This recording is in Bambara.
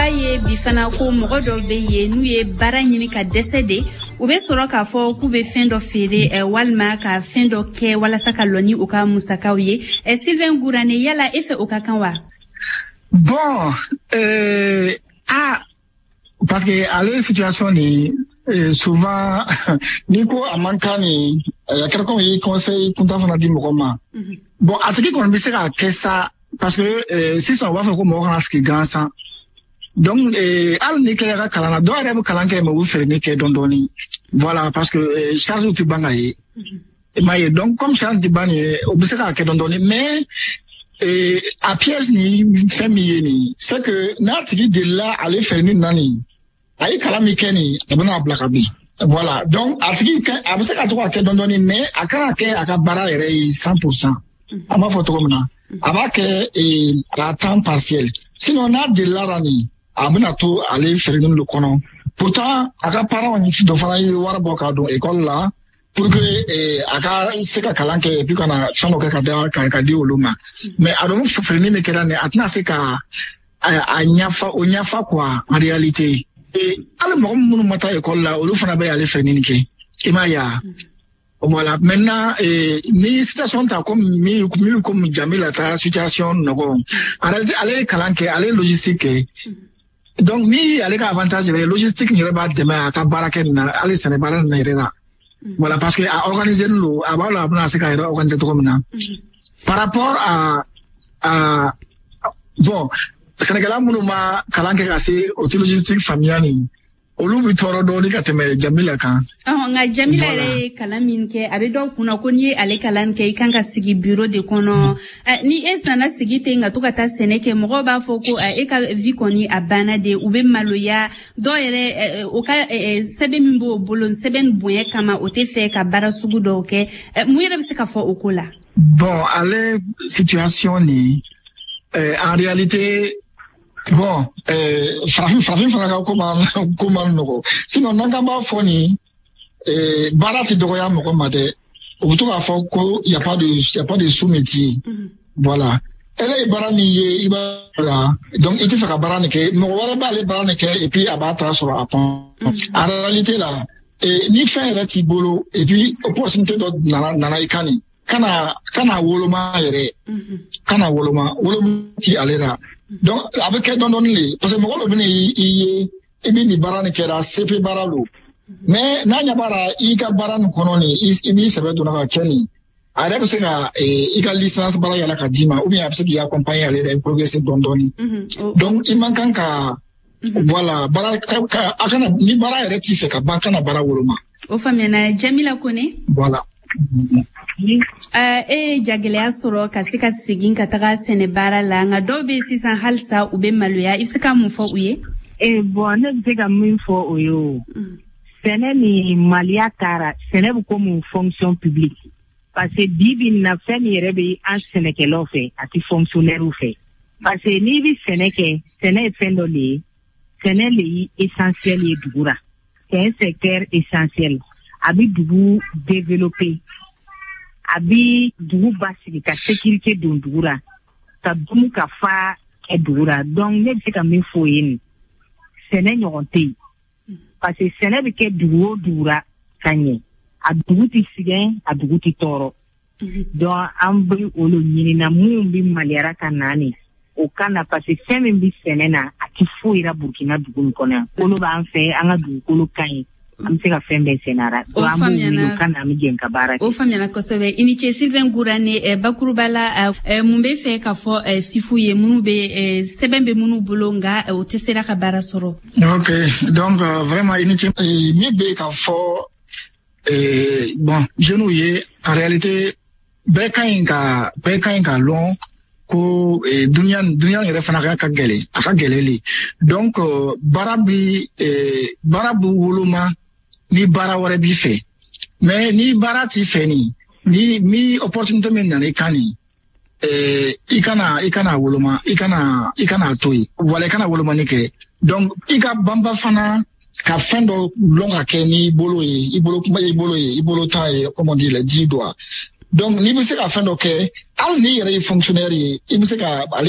B'a ye bi fana ko mɔgɔ dɔw bɛ yen, n'u ye baara ɲini ka dɛsɛ de, u bɛ sɔrɔ k'a fɔ k'u bɛ fɛn dɔ feere walima ka fɛn dɔ kɛ walasa ka lɔ ni u ka musakaw ye. Sylvain Gourane, yala e fɛ, o ka kan wa? Bon, ah, parce que ale situation ni souvent n'i ko a man kan nin, a kɛra comme i ye conseil kuntan fana di mɔgɔ ma. Bon, a tigi kɔni bɛ se k'a kɛ sa, parce que sisan u b'a fɔ ko mɔgɔ kana sigi gansan. Donc hali n'i kɛra ka kalan na, dɔw yɛrɛ bɛ kalan kɛ, mais u bɛ feereli kɛ dɔɔni dɔɔni. Voilà, parce que charge tɛ ban ka ye. I m'a ye, donc comme charge tɛ ban nin ye, o bɛ se k'a kɛ dɔɔni dɔɔni, mais a piège ni fɛn min ye nin, c'est que n'a tigi delila ale feereli na nin, a ye kalan min kɛ nin, a bɛna bila ka bin. Voilà, donc a tigi kɛ, a bɛ se ka to ka kɛ dɔɔni dɔɔni, mais a kana kɛ a ka baara yɛrɛ ye 100%. An b'a fɔ cogo min na, a b'a kɛ à temps partiel. Sinon n'a delila la nin, a bɛna to ale feereli de kɔnɔ. Pourtant a ka parents dɔ fana ye wari bɔ k'a don école la pour que a ka se ka kalan kɛ et puis ka na fɛn dɔ kɛ ka da ka di olu ma. Mais a dɔn feereli min kɛra nin, a tɛna se ka a ɲafa o ɲafa quoi, en réalité. Et hali mɔgɔ minnu ma taa école la, olu fana bɛ ale feereli nin kɛ. I m'a ye wa? Voilà. Maintenant, ni situation ta comme mi comme Jamila ta situation nɔgɔ. En réalité, ale ye kalan kɛ, ale ye logistique kɛ. Donc ni ale ka avantage yɛrɛ ye, logistique yɛrɛ b'a dɛmɛ a ka baara kɛ nin na, hali sɛnɛ baara nin na yɛrɛ la. Voilà, parce que a organisé don, a b'a la, a bɛna se k'a yɛrɛ organiser cogo min na. Par rapport à bon, sɛnɛkɛla minnu ma kalan kɛ ka se o tɛ logistique faamuya nin, olu bɛ tɔɔrɔ dɔɔni ka tɛmɛ Jamila kan. Nka Jamila yɛrɛ ye kalan min kɛ, a bɛ dɔw kunna ko n'i ye ale kalan kɛ, i kan ka sigi bureau de kɔnɔ. Ni e nana sigi ten ka to ka taa sɛnɛ kɛ, mɔgɔw b'a fɔ ko e ka vie kɔni a banna de. U bɛ maloya. Dɔw yɛrɛ, o ka sɛbɛn min b'o bolo, sɛbɛn bonya kama, o tɛ fɛ ka baara sugu dɔw kɛ. Mun yɛrɛ bɛ se ka fɔ o ko la? Bon, ale situation nin, en réalité, bon, farafin fana ka ko ma nɔgɔ. Sinon n'an k'an b'a fɔ nin, baara tɛ dɔgɔya mɔgɔ ma dɛ. U bɛ to k'a fɔ ko y a pas de sot métier. Voilà. Ele ye baara min ye, i b'a la, donc i tɛ fɛ ka baara nin kɛ, mɔgɔ wɛrɛ b'ale baara nin kɛ et puis a b'a ta sɔrɔ a kɔnɔ. En réalité la, ni fɛn yɛrɛ t'i bolo et puis opportunité dɔ nana i kan nin, kana woloma yɛrɛ, kana woloma, woloma ti ale la. Donc a bɛ kɛ dɔɔni dɔɔni de, parce que mɔgɔ dɔ bɛ na i ye, i bɛ nin baara nin kɛra CP baara don, mais n'a ɲɛ b'a la i ka baara nin kɔnɔ nin, i b'i sɛbɛ donna ka kɛ nin, a yɛrɛ bɛ se ka i ka licence baara yala ka d'i ma, ou bien a bɛ se k'i accompagner ale yɛrɛ progresser dɔɔni dɔɔni. Donc i man kan ka, voilà, baara ka a kana, ni baara yɛrɛ t'i fɛ ka ban, kana baara woloma. O faamuyana, Jamila Kone. Voilà. E ye jagɛlɛya sɔrɔ ka se ka segin ka taga sɛnɛ baara la, nka dɔw bɛ sisan halisa u bɛ maloya. I bɛ se ka mun fɔ u ye? Bon, ne bɛ se ka min fɔ o ye, o sɛnɛ ni maliya taara, sɛnɛ bɛ komi fonction publique, parce que bi bi in na, fɛn min yɛrɛ bɛ an sɛnɛkɛlaw fɛ, a tɛ fonctionnaire fɛ, parce que n'i bɛ sɛnɛ kɛ, sɛnɛ ye fɛn dɔ de ye, sɛnɛ le ye essentiel ye dugu la, c'est un secteur essentiel. A bɛ dugu développer, a bɛ dugu basigi, ka sécurité don dugu la, ka dumu ka fa kɛ dugu la. Donc ne bɛ se ka min fɔ o ye nin, sɛnɛ ɲɔgɔn tɛ yen, parce que sɛnɛ bɛ kɛ dugu o dugu la ka ɲɛ, a dugu tɛ sɛgɛn, a dugu tɛ tɔɔrɔ. Donc an bɛ olu ɲinina minnu bɛ maliyara ka na nin, o ka na, parce que fɛn min bɛ sɛnɛ na, a tɛ foyi la Burukina dugu nin kɔnɔ yan. Kolo b'an fɛ, an ka dugukolo ka ɲi, an bɛ se ka fɛn bɛɛ sɛnɛ a la. O Donc an b'u wele faamuyana. u ka na, an bɛ jɛ ka baara kɛ. O faamuyana kosɛbɛ, i ni ce. Sylvain Gourane, bakuruba la, mun bɛ fɛ k'a fɔ sifu ye minnu bɛ sɛbɛn bɛ minnu bolo, nka o tɛ sera ka baara sɔrɔ? Ok, donc vraiment i ni ce. Min bɛ ka fɔ, bon, jeunes ye, en réalité bɛɛ ka ɲi ka lɔn ko dunuya yɛrɛ fana ka gɛlɛn, a ka gɛlɛn le. Donc baara bi woloma ni baara wɛrɛ b'i fɛ, mais ni baara t'i fɛ nin, ni mi opportunité min nana i kan nin, i kana woloma, i kana to yen. Voilà, i kana wolomani kɛ. Donc i ka banba fana ka fɛn dɔ lɔn ka kɛ n'i bolo ye, i bolo kuma, i bolo ye, i bolo ta ye, comme on dit, les 10 doigts. Donc n'i bɛ se ka fɛn dɔ kɛ, hali n'i yɛrɛ ye fonctionnaire ye, i bɛ se ka ale